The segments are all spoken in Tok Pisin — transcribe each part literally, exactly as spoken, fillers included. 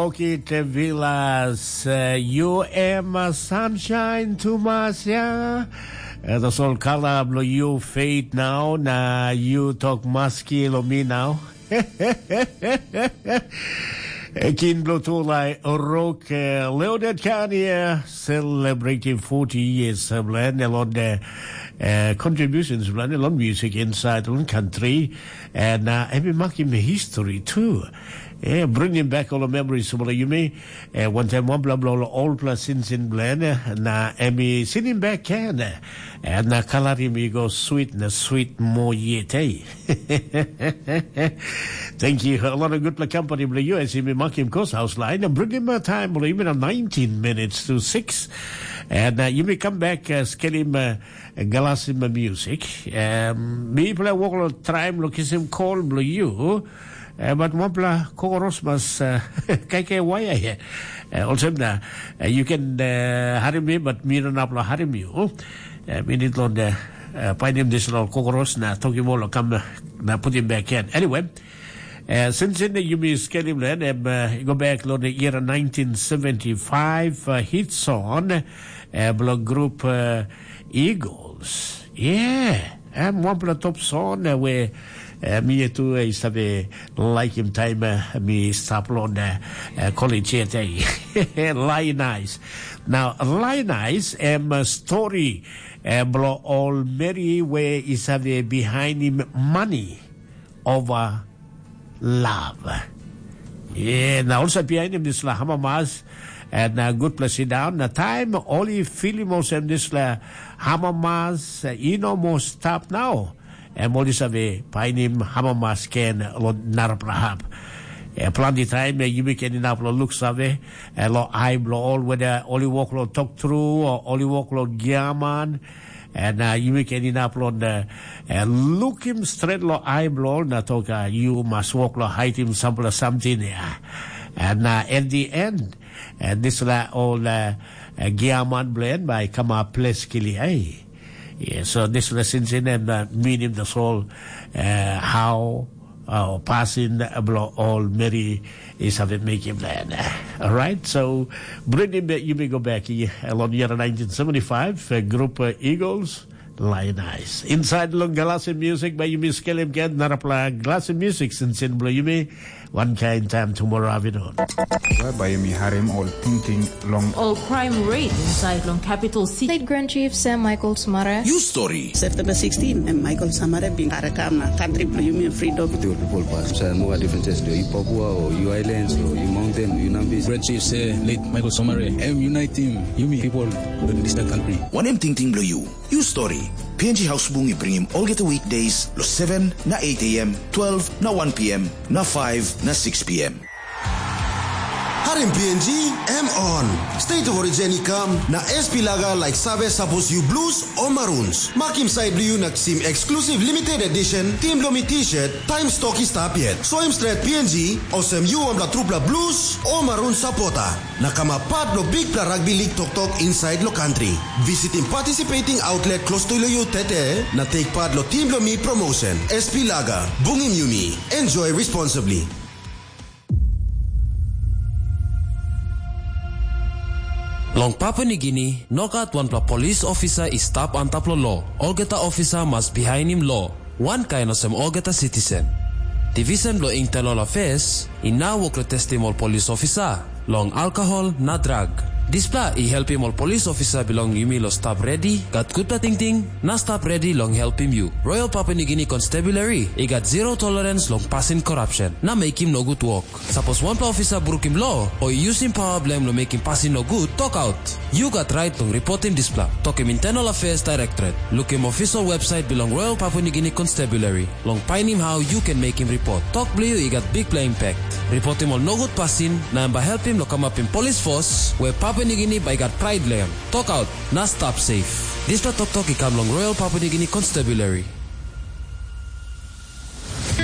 Okite Villas, uh, you am a sunshine to Masia. Uh, the soul color of you fade now, na you talk maski lo me now. Kin Blotulai Rock, uh, Leonard Kanye, celebrating forty years of land, along the uh, contributions, land, along music inside, along country, and uh, every marking history too. Yeah, bringing back all the memories of you may. Uh, one time, one blah blah, all plus in sin blend, uh, na emi sitting back can, uh, and na kalari mi go sweet na sweet mo yet, eh? Thank you. A lot of good company, bla you. I see me makim course house line. And bring him a time, bla, even a nineteen minutes to six. And uh, you may come back, uh, skelim uh, galasim music. Um, mi pla wok lo time lo kisim call bla you. Uh, but wanpela kokoros mas uh, kaikai waya here. Uh, also, uh, you can uh, harim me, but mi no napla harim you. Uh, mi need lo uh, uh, painim this lo kokoros na toki mo lo kam uh, na put him back in. Anyway, uh, since in the yumi skelim then, um, uh, go back lo the year nineteen seventy-five uh, hit song uh, blo group uh, Eagles. Yeah. Em wanpela top song uh, where uh, mi tu uh, is have a like him time uh, mi stap lo uh, uh, college yet. Lie nice. Now, lie nice, um, uh, story uh, blo all Mary where is have a behind him money over love. Yeah, na also behind him this la hamamas and uh, good place down. Na time oli filim olsem this la hamamas uh, ino mo stap now. Em oli save painim hamamas ken lo narapla hap. E planti taim e yumi ken inap lo luk save, e lo ai blo ol weda oli wok lo tok tru o oli wok lo giaman, en uh, yumi ken inap lo uh, lukim stret lo ai blo ol na tok uh, yu mas wok lo haitim sampela samting ya. En uh, at the end, uh, dispela ol uh, uh, giaman blo en bai kamap ples kili ai. Yeah, so dispela sinsin em uh, minim the soul uh, how uh, pasin blo ol meri is have making plan. All right, so bring him back, you may go back here. Along year nineteen seventy-five, uh, group uh, Eagles, Lion Eyes. Inside long galasi music by you Miss Kelly again, narapla galasi music sinsin blo you may one kind time tomorrow afternoon. Whereby you may harem all thinking long all crime rate inside long capital city. State Grand Chief Sam Michael Sumara. You story. September sixteen, and Michael Samara bin karakam na country blo yumi freedom. With your people pass. So no different test. You Papua or you islands or you mountain, you Nambis. Grand Chief say late Michael Somare. Em unite him. Yumi people in this country. One em ting ting blo you. You story. P N G House Bung i bringim olgeta weekdays lo seven na eight a m, twelve na one p m, na five na six p m. Harim P N G, M on. State of Origin i kam, na S P Laga like save sapos you blues o maroons. Makim side blo you na kisim exclusive limited edition, team blo mi t-shirt, time stock i stap yet. Soim stret P N G, osem you wanpela trupela blues o maroon supporter. Na kamap pat lo bikpela rugby league toktok inside lo country. Visitim participating outlet close to lo you tete, na take part lo team lo mi promotion. S P Laga, bungim yumi. Enjoy responsibly. Long Papua Nigini, nogat wanpela polis ofisa i stap antap long lo. Olgeta ofisa mas bihainim lo, wankain olsem olgeta sitisen. Divisen bilong Internal Affairs i nau wok long testim ol polis ofisa long alkohol na drag. Dispela i helpim ol polis ofisa bilong yumi long stap redi, gat gutpela tingting, na stap redi long helpim yu. Royal Papua Nigini Constabulary i gat zero tolerance long pasin korapsen na mekim nogut wok. Sapos wanpela ofisa brukim lo o i yusim pawa bilong em long mekim pasin nogut, tokaut. Yu gat rait long ripotim dispela. Tokim Internal Affairs Directorate. Lukim official website bilong Royal Papua Nigini Constabulary long painim hau yu ken mekim ripot. Tok bilong yu i gat bikpela impact. Ripotim ol nogut pasin na em bai helpim long kamapim polis fos we Papua Nigini bai i gat prait long em. Tokaut na stap safe. Dispela toktok i kam long Royal Papua Nigini Constabulary.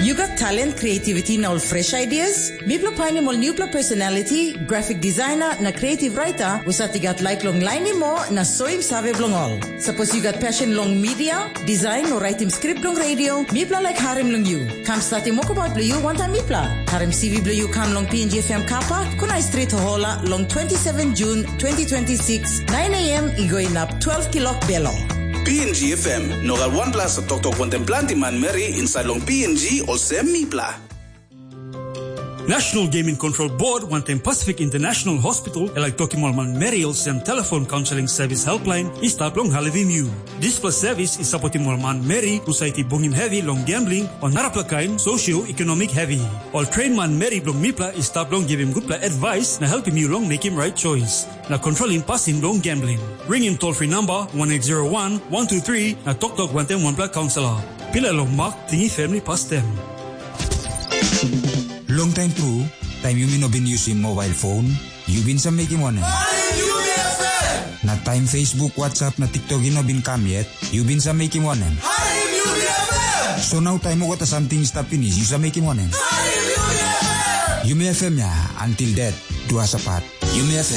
You got talent, creativity na ol fresh ideas? Mipela painim ol newpela personality, graphic designer na creative writer husat i gat laik long lainim moa na soim save bilong ol. Sapos yu gat passion long media, design o writing script long radio, mipela laik harim long yu. Kam statim wokabaut bilong yu wantaim mipela. Harim C V bilong yu kam long P N G F M kapa, Kunai Street Hohola long twenty-seven June twenty twenty-six, nine a.m. i go inap twelve kilok belo. P N G F M, no gat wanpela sa toktok wantaim planti manmeri insait long P N G olsem mipela. National Gaming Control Board wantaim Pacific International Hospital e laik tokim ol manmeri olsem telefon counseling service helpline i stap long helpim yu. Dispela service i sapotim ol manmeri husat i bungim hevi long gambling o narapela kain socio-economic hevi. Ol train manmeri bilong mipela i stap long givim gutpela advice na helpim yu long mekim right choice na controlim pasin bilong gambling. Ringim toll free number one eight zero one one two three na toktok wantaim wanpela counselor. Pilai long mak tingim family pastem. Long taim tru, taim yumi no bin yusim mobile phone, yu bin sa mekim wanem? Na taim Facebook, WhatsApp na TikTok i no bin kam yet, yu bin sa mekim wanem? So nau taim olgeta samting i stap pinis, yu sa mekim wanem? Yumi F M ya, until death do us apart. Yumi F M.